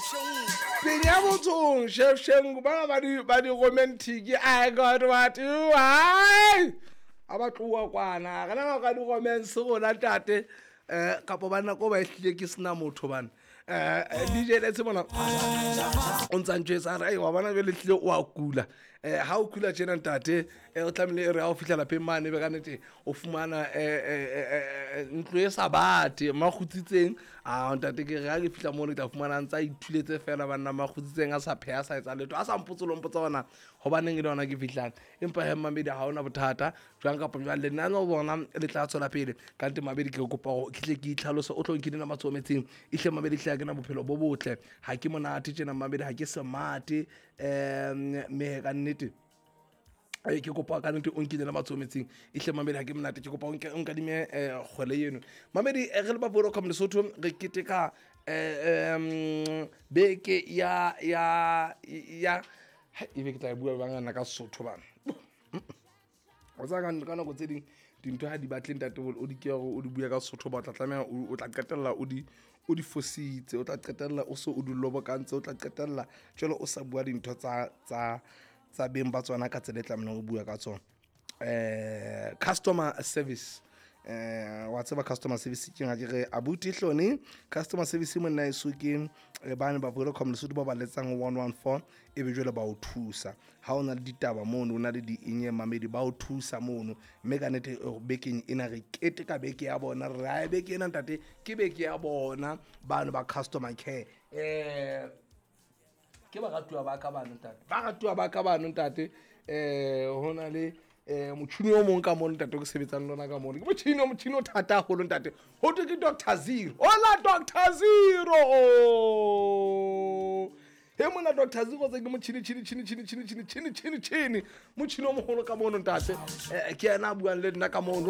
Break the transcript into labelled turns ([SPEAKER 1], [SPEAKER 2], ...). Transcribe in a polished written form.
[SPEAKER 1] Penya botsong Chef Shengu ba ba di ba di romantic. I got what you want. A ba tloa kwana. Re na ka di romance rona ntate. Eh kapo ba nako ba ehlile ke sena motho bana. Eh DJ Let's bona o ntsa ntjwetsa re wa bona jwale hlile o a kula. Eh ha o kula tjena ntate eh o tlamehile re ha o fihla lapeng mane be ka nete o fumana eh, eh, eh, ntlo e sa bate makgutsitseng a ntate ke re ga ke fitlha mono ke tla fumana ntse a ithuletse fela banna makgutsitseng a sa pheya sa etsa letho a sa mpotse lo mpotsa gona gobaneng e le yona ke fitlhang empa he mmamedi ga ona bothata jwang kapa jwang lenane bona le tla tswela pele kante mabedi ke kopa gore ke tle ke itlhalose o tlo nkile nama tsometseng ehle mabedi tle ya ke na bophelo bo botle ga ke monate tjena mmamedi ga ke semate um mme ka nnete ee ke kopa ka nnete o nkile le matsoho metsing ehle mamedi ga ke monate ke kopa o nkadime um kgwele eno mamedi eh, re le ba vodacom lesotho re keteka um beke ya ya ya e be ke tla e bua bangana ka sesotho bana o tsaya ka nako tse ding dintho ga di batle ntate o di ke gore o di bua ka sesotho ba o tla tlameha o tla qetella o di o di fositse o tla qetella o se o di lobokantse o tla qetella jalo o sa bua dintho tsa tsa tsa beng ba tsona ka tsela e tlamehileng go bua ka tsona um customer service eh wa tseba customer service ke ga ke re abuti hlone customer service monna eso ke eh, bane ba Vodacom Lesotho ba ba letsang 114 e be jwale ba o thusa ha o na le ditaba mono o na le di-enye mamedi ba o thusa mono mme ka nete eh, bekeng ena re kete ka beke ya bona re ae beke ena ntate ke beke ya bona bano ba customer care eh ke baratuwa ba ka bano ntate baratuwa ba ka bano ntate um ho na le um motšhini o mong ka mono ntate o ke sebetsang lona ka mono ke motšhini o motšhini o thata haholo ntate ho thwe ke Doctor Zero hola Doctor Zero he mona Doctor Zero tse ke motšhini tšhini tšhini tšhini tšhini tšhini tšhini tšhini tšhini motšhini o mogolo ka mono ntate um ke ena a buang le nna ka mono.